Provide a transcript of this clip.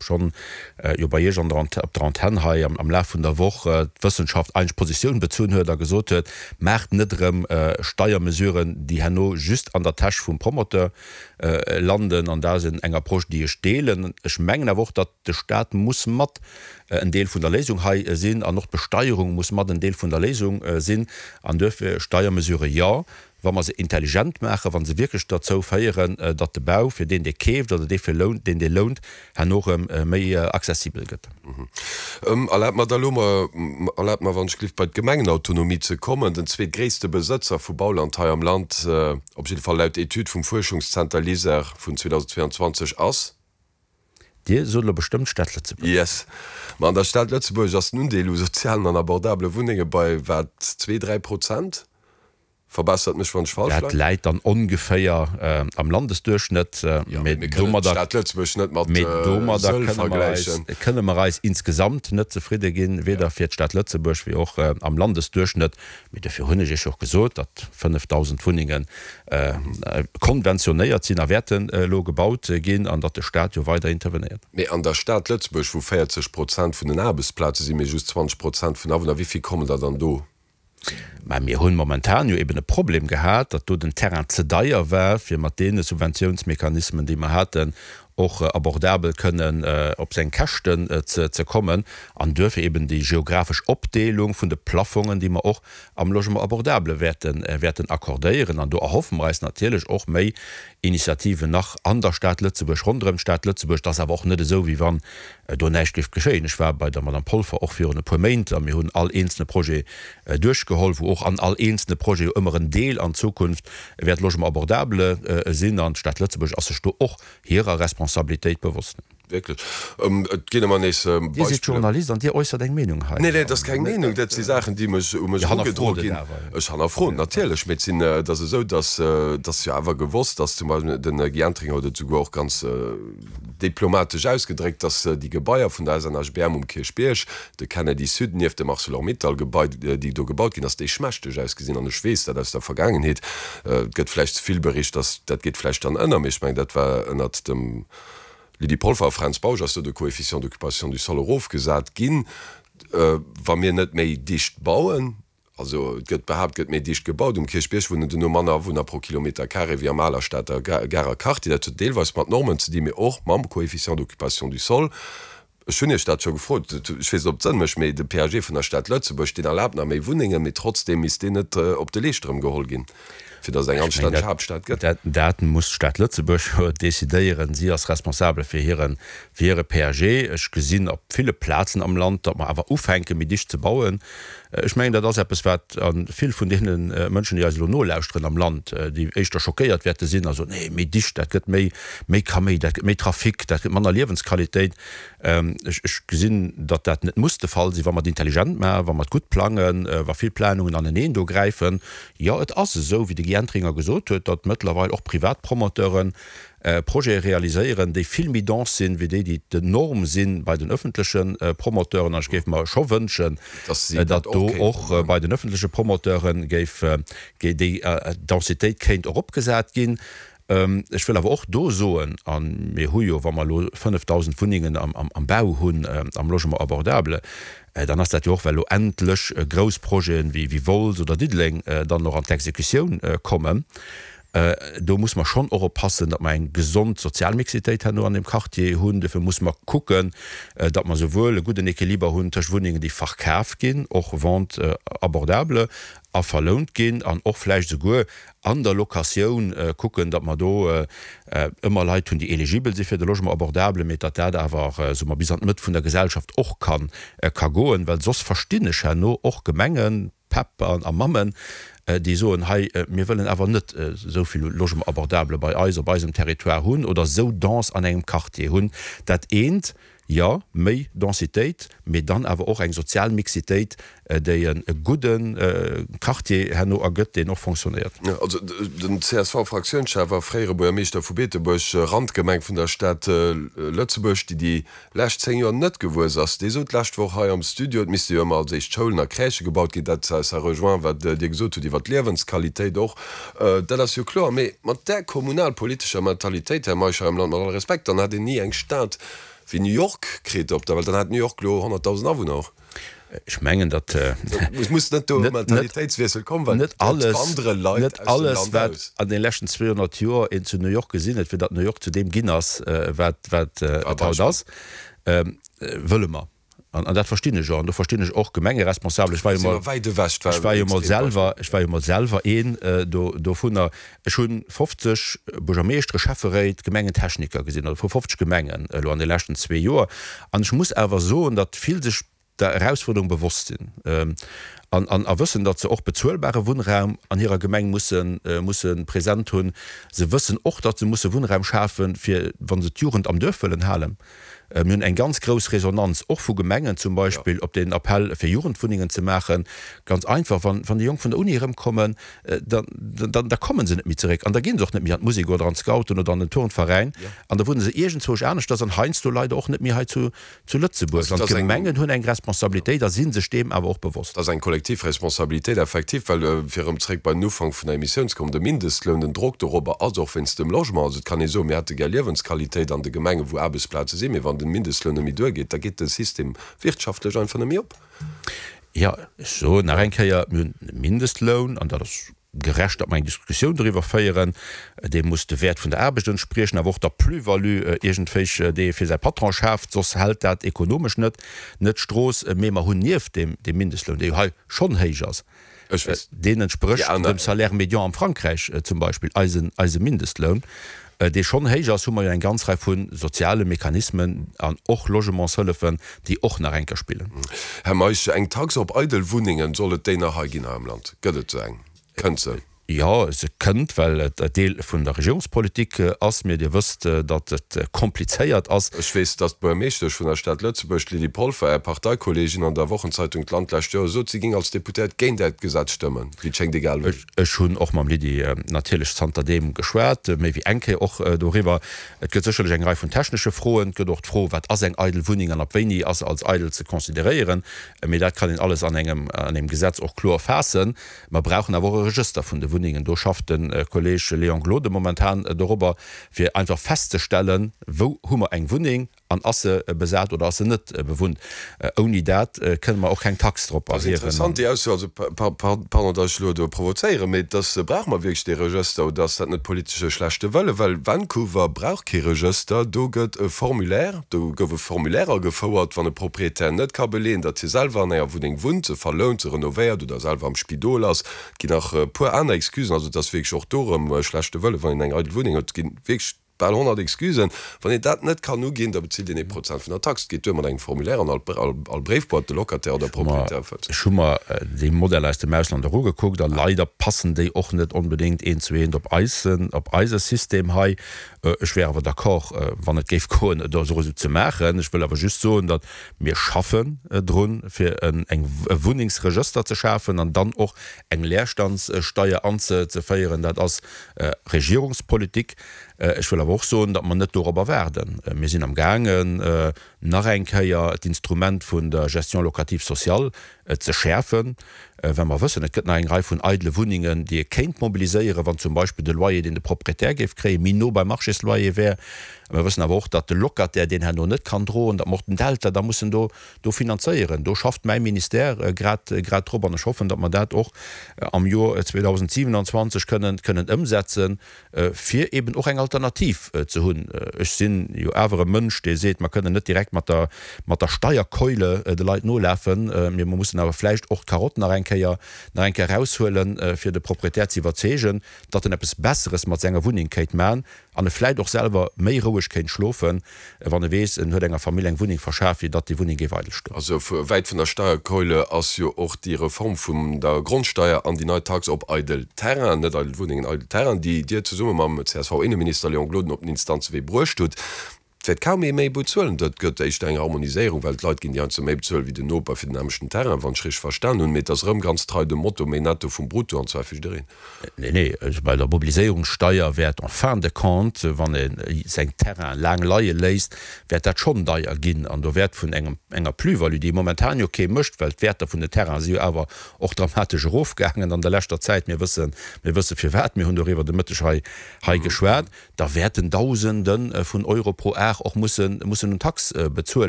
schonn jo bei Iech an der op der Antenn hei am Laf vun der Woch d'Wëssenschaft eigentlech Positioun bezunn huet a gesot huet, Maacht net erëm Steiermesuren, déi herno just an der Täsch vum Promoteur landen. An dat ass eng Approche, déi ech deelen. Ech mengen awer och, datt de Stat muss mat en Deel vun der Léisung hei sinn an och d'Besteierung muss mat en Deel vun der Léisung sinn. An duerfir Steiermesurë jo, wa mer se intelligent maachen, wa se wierklech derzou féieren, datt de Bau fir deen, dee keeft oder dee fir lount, deen, dee lount, herno erëm méi accessibel gëtt. Erlaabt mer da elo mol, erlaabt mer wann ech gelift, bei d'Gemengenautonomie ze kommen. Den zweetgréisste Besëtzer vu Bauland hei am Land, op jidde Fall laut Etüd vum Fuerschungszenter LISER vun 2022, ass. Dir sot elo bestëmmt d'Stad Lëtzebuerg. Yes. Ma an der Stad Lëtzebuerg ass den Undeel u sozialen an abordabele Wunnenge bei wat, zwee, 3 Prozent? Verbessert mech, wann ech falsch Dat leien. läit dann ongeféier am Landesduerchschnëtt. Jo, mee mir kënnen d'Stad Lëtzebuerg net mat Mee domadder Sëll kënne mer eis, vergläichen. kënne mer eis insgesamt net zefridde ginn, weder fir d'Stad Lëtzebuerg wéi och am Landesduerchschnëtt. Mee dofir hunn ech Iech jo och gesot, datt 5.000 Wunnenge konventionéiert sinn a wäerten elo gebaut ginn an datt de Stat jo weider intervenéiert. Mee an der Stad Lëtzebuerg, wou 40 Prozent vun den Aarbechtsplaze sinn, mee just 20 Prozent vun Awunner, wéi vill kommen der dann do? Mä mir hunn momentan jo eben e Problem gehat, datt do den Terrain ze deier war, fir mat deene Subventiounsmechanismen, déi mer haten, och abordabel kënnen op seng Käschten ze kommen an duerfir eben déi geographesch Opdeelung vun de Plaffongen, déi mer och am Logement abordable wäerten wäerten accordéieren. An do erhoffe mer eis natierlech och méi Initiativen nach an der Stad Lëtzebuerg, ronderëm d'Stad Lëtzebuerg. Et ass awer och net esou, wéi wann do näischt géif geschéien. Ech war bei der Madame Polfer och virun e puer Méint a mir hunn all eenzelne Projet duerchgeholl, wou och an all eenzelne Projet jo ëmmer en Deel an Zukunft wäert Logement abordable sinn. An d'Stad Lëtzebuerg ass sech do och hirer Responsabilitéit bewosst. Wierklech. Et ginn ëmmer nees Dir sidd Beispiller. Journalist an Dir äussert eng Meenung hei. Nee, nee, dat ass keng Meenung, dat si Saachen, déi mech, u mech Dir erugedroe hannerfrot et ginn. awer. Ech hannerfroen natierlech, mee et sinn, et ass esou, datt, et ass jo awer gewosst, datt zum Beispill, den Guy Entringer huet et souguer och ganz diplomatesch ausgedréckt, datt déi Gebaier vun der SNHBM um Kierchbierg, de Kennedy Sud nieft dem Arcelor-Mittal-Gebai, déi do gebaut ginn ass, déi schmächteg ausgesinn. An ech weess dat aus der Vergaangenheet. Et gëtt vläicht ze vill bericht, datt dat geet vläicht dann ënner, mee ech mengen, dat war ënnert dem Lydie Polfer a Fränz Bausch ass do de Coefficient d'occupation du sol erofgesat ginn. Wa mir net méi dicht bauen, also et gëtt behaapt, gëtt méi dicht gebaut, um Kierchbierg wunnen duerno manner Awunner pro Kilometer carré wéi am aler Stater Garer Quartier. Dat huet deelweis mat Normen ze dinn, mee och mam Coefficient d'occupation du sol. Ech hunn Iech dat scho gefrot, ech weess net, ob et Sënn mécht, mee de PAG vun der Stad Lëtzebuerg, deen erlaabt nach méi Wunnengen, mee trotzdeem misst deen net op de Leescht erëm geholl ginn, fir datt et eng anstänneg Haaptstad gëtt. Dat muss d'Stad Lëtzebuerg jo decidéieren. Si ass responsabel fir hire, fir hire PAG. Ech gesinn op ville Plazen am Land, datt mer awer ufänken, méi dicht ze bauen. Ech mengen, dat ass eppes, wat a vill vun deene Mënschen, déi eis elo nolauschteren am Land, déi éischter schockéiert wäerte sinn a soen, Nee, méi dicht, dat gëtt méi, méi Kaméi, dat gëtt méi Trafic, dat gëtt manner Liewensqualitéit. Ech, ech gesinn, datt dat net muss de Fall sinn, wa mer et intelligent maachen, wa mer et gutt plangen, wa vill Planungen aneneen do gräifen. Jo, et ass esou, wéi de Guy Entringer gesot huet, datt mëttlerweil och privat Promoteuren Projete realiséieren, déi vill méi dense sinn, wéi déi, déi d'Norm si bei den öffentleche Promoteuren. An ech géif mer scho wënschen, datt do och bei den öffentleche Promoteure géif déi Densitéit kéint eropgesat ginn. Ech wëll awer och do soen, a mir hu jo, wa mer elo 5.000 Wunnengen am Bau hunn am Logement abordable, dann ass dat jo och, well elo endlech grouss Projeten wéi Wolz oder Diddeleng dann och an d'Exekutioun kommen. Do muss mer schonn och oppassen, datt mer eng gesond sozial Mixitéit herno an deem Quartier hunn. Dofir muss mer kucken, datt mer souwuel e gudden Equiliber hunn tëscht Wunnengen, déi verkaf ginn, och Vente abordable, a verlount ginn, an och vläicht esouguer an der Locatioun kucken, datt mer do ëmmer Leit hunn, déi eligibel si fir de Logement abordable, mee datt dat awer, soe mer, bis an d'Mëtt vun der Gesellschaft och ka goen, well soss verstinn ech herno och Gemengen, Päpp a Mammen, déi soen, hei, mir wëllen awer net esou vill Logement abordable bei eis op eisem Territoire hunn oder esou dense an engem Quartier hunn. Dat eent, jo, méi Densitéit, mee dann awer och eng sozial Mixitéit, déi e gudde Quartier herno ergëtt, deen och fonctionnéiert. Also den CSV-Fraktiounschef a fréiere Buergermeeschter vu Beetebuerg, Randgemeng vun der Stad Lëtzebuerg, déi déi lescht 10 Joer net gewuess ass. Dee sot d'lescht Woch hei am Studio, et misste jo ëmmer als éischt Schoulen a Crèchë gebaut ginn. Dat, ça rejoint wat Dir gesot hutt iwwer d'Liewensqualitéit och. Dat ass jo kloer. Mee mat där kommunalpolitescher Mentalitéit, Här Meisch, hei am Land, mat all Respekt, dann hätt een ni eng Stad. Wéi New York kritt op der Welt, dann hätt New York elo 100.000 Awunner och. Ech mengen, datt Et muss net do e Mentalitéitswiessel kommen, well net et alles, wandere Leit net aus dem alles, Land wat aus. an de leschten 200 Joer een zu New York gesinn huet, fir datt New York zu deem ginn ass, wat, wat War et haut Beispill. ass, wëlle mer. An, an dat verstinn ech och. An do verstinn ech och Gemengeresponsabel. Ech war jo Si mer mol, wäit ewech, ech war jo mol selwer, ech war jo mol selwer een do, dovunner. Ech hu 50 Buergermeeschtere, Schäfferéit, Gemengentechniker gesinn, also vu 50 Gemengen elo an de leschten zwee Joer. An ech muss awer soen, datt vill sech der Erausfuerderung bewosst sinn an, an a wëssen, datt se och bezuelbare Wunnraum an hirer Gemeng mussen, musse present hunn. Se wëssen och, datt se musse Wunnraum schafen, fir wa se d'Jugend am Duerf wëllen halen. Mir hunn eng ganz grouss Resonanz och vu Gemengen zum Beispill op deen Appell fir Jugendwunnengen ze maachen. Ganz einfach, wann déi Jonk vun der Uni erëmkommen, da da komme se net méi zeréck an da gi se och net méi an d'Musek oder an d'Scouten oder an den Turnveräin an da wunne se iergendzwousch aneschters an heiansdo leider och net méi hei zu zu Lëtzebuerg. An d'Gemengen hunn eng Responsabilitéit a si sech deem awer och bewosst. Dat ass eng kollektiv Responsabilitéit effektiv, well, fir erëm zréck bei den Ufank vun der Emissioun ze kommen, de Mindestloun, den Drock dorobber ass och wéinst dem Logement. Also et kann ee soen, mir hätte gär Liewensqualitéit an de Gemengen, wou Aarbechtsplaze sinn, mee wann de Mindestloun net méi duergeet, da geet de System wirtschaftlech einfach net méi op. Jo, ech soen nach eng Kéier, mir hunn e Mindestloun, an dat ass gerecht, datt mer eng Diskussioun doriwwer féieren, dee muss de Wäert vun der Aarbecht entspriechen, awer och der Plus-value iergendwéi, déi ee fir säi Patron schaaft, soss hält dat ekonomesch net net d'Strooss. Mee mer hunn nieft deem deem Mindestloun, dee jo hei schonn héich ass, deen entsprécht dem Salaire médian am Frankräich zum Beispill, eisen eise Mindestloun, dee schonn héich ass, hu mer jo eng ganz Rei vu soziale Mechanismen an och Logementshëllefen, déi och nach eng Kéier spillen. Här Meisch, eng Tax op eidel Wunnengen, soll et déi nach hei ginn hei am Land? Gëtt et esou eng? Kënnt se? Jo, se kënnt, well et Deel vun der Regierungspolitik ass. Mee Dir wësst, datt et komplizéiert ass. Ech weess, datt d'Buergermeeschtesch vun der Stad Lëtzebuerg, d'Lydie Polfer, Är Parteikolleegin, an der Wochenzeitung d'Land d'lescht Joer sot, si géing als Deputéiert géint Äert Gesetz stëmmen. Wéi et schéngt, egal wéi. Ech hunn och mam Lydie natierlech zanterdeem geschwat, méi wéi eng Kéier och doriwwer. Et gëtt sécherlech eng Rei vun technesche Froen. Et gëtt och d'Fro, Wat ass eng eidel Wunneng an ab wéini ass se als eidel ze consideréieren? Mee dat kann een alles an engem an engem Gesetz och kloer faassen. Mer brauchen awer och e Regëster vun de Wunnengen. Do schafft de Kolleg Léon Gloden momentan dorobber, fir einfach festzestellen, Wou hu mer eng Wunneng? An ass se besat oder ass se net bewunnt? Ouni dat kënne mer och keng Tax drop erhiewen. Dat ass interessant, déi Ausso. Also, pardon, datt ech elo do provozéieren, mee dass, brauche mer wierklech dee Regëster oder ass dat net politesche schlechte Wëlle? Well Vancouver brauch kee Regëster, do gëtt e Formulaire, do gouf e Formulaire agefouert, wann e Proprietär net ka beleeën, datt hie selwer an enger Wunneng wunnt, se verlount, se renovéiert oder selwer am Spidol ass. Et ginn nach e puer aner Excusen. Also, et ass wierklech och do erëm schlechte Wëlle, wann een eng eidel Wunneng huet. Et ginn wierklech. Bal 100 Excusen. Wann een dat net kann uginn, da bezilt een ee Prozent vun der Tax. Et geet duer mat engem Formulaire an all Bréifboîte de Locataire oder Propriétaire fëllt. Ech hu mer déi Modeller aus dem Ausland och ugekuckt a leider passen déi och net onbedéngt eent zu eent op eisen, op eise System hei. Ech wär awer d'accord, wann et géif goen, et esou ze maachen. Ech wëll awer just soen, datt mir schaffen drun, fir en, eng, e Wunnengsregëster ze schafen an dann och eng Leerstandssteier anzeféieren. Dat ass Regierungspolitik. Ech wëll awer och soen, datt mer net dorobber waarden. Mir sinn am gaangen, nach eng Kéier d'Instrument vun der Gestion locative sociale ze schäerfen, well mer wëssen, et gëtt nach eng Rei vun eidele Wunnengen, déi ee kéint mobiliséieren, wann zum Beispill de Loyer, deen de Proprietär géif kréien, méi no beim Marchésloyer wär. Mer wëssen awer och, datt de Locataire deen herno net kann droen, datt mer och den Delta da mussen do do finanzéieren. Do schafft mäi Ministère grad grad drop an ech hoffen, datt mer dat och am Joer 2027 kënnen kënnen ëmsetzen. fir eben och eng Alternativ ze hunn. Ech sinn jo awer e Mënsch, dee seet, mer kënnen net direkt mat der, mat der Steierkeule de Leit nolafen, mee mer mussen awer vläicht och d'Karott nach eng Kéier, nach eng Kéier eraushuelen, fir de Proprietär ze iwwerzeegen, datt en eppes Besseres mat senger Wunneng kéint man an e vläicht och selwer méi roueg kéint schlofen, Wann e weess, en huet enger Famill eng Wunneng verschaf, wéi datt déi Wunneng géif eidel stoen. Also wäit vun der Steierkeule ass jo och déi Reform vun der Grondsteier an déi nei Tax op eidel Terrainen, net eidel Wunnengen, eidel Terrainen, déi Dir zesumme mam CSV-Inneminister Léon Gloden op den Instanzewee bruecht hutt. Et wäert kaum ee méi bezuelen. Dat gëtt éischter eng Harmoniséierung, well d'Leit ginn déi heiansdo méi bezuelen wéi den Noper fir den nämmlechten Terrain, wann ech richteg verstan hunn. Mee et ass erëm ganz trei dem Motto, méi Netto vum Brutto, an zwar fir jiddereen. Nee, nee, also bei der Mobiliséierungssteier wäert en fin de compte, wann ee seng Terrainen laang leie léisst, wäert dat schonn deier ginn. An do wäert vun engem, enger Plus-value, déi momentan jo kee mécht, well d'Wäerter vun den Terrainen si jo awer och dramatesch erofgaangen an der leschter Zäit, mir wëssen, mir wësse firwat, mir hunn doriwwer de Mëtteg hei, hei geschwat, da wäerten Dausende vun Euro pro Ar. Dag och mussen, mussen un Tax bezuelen.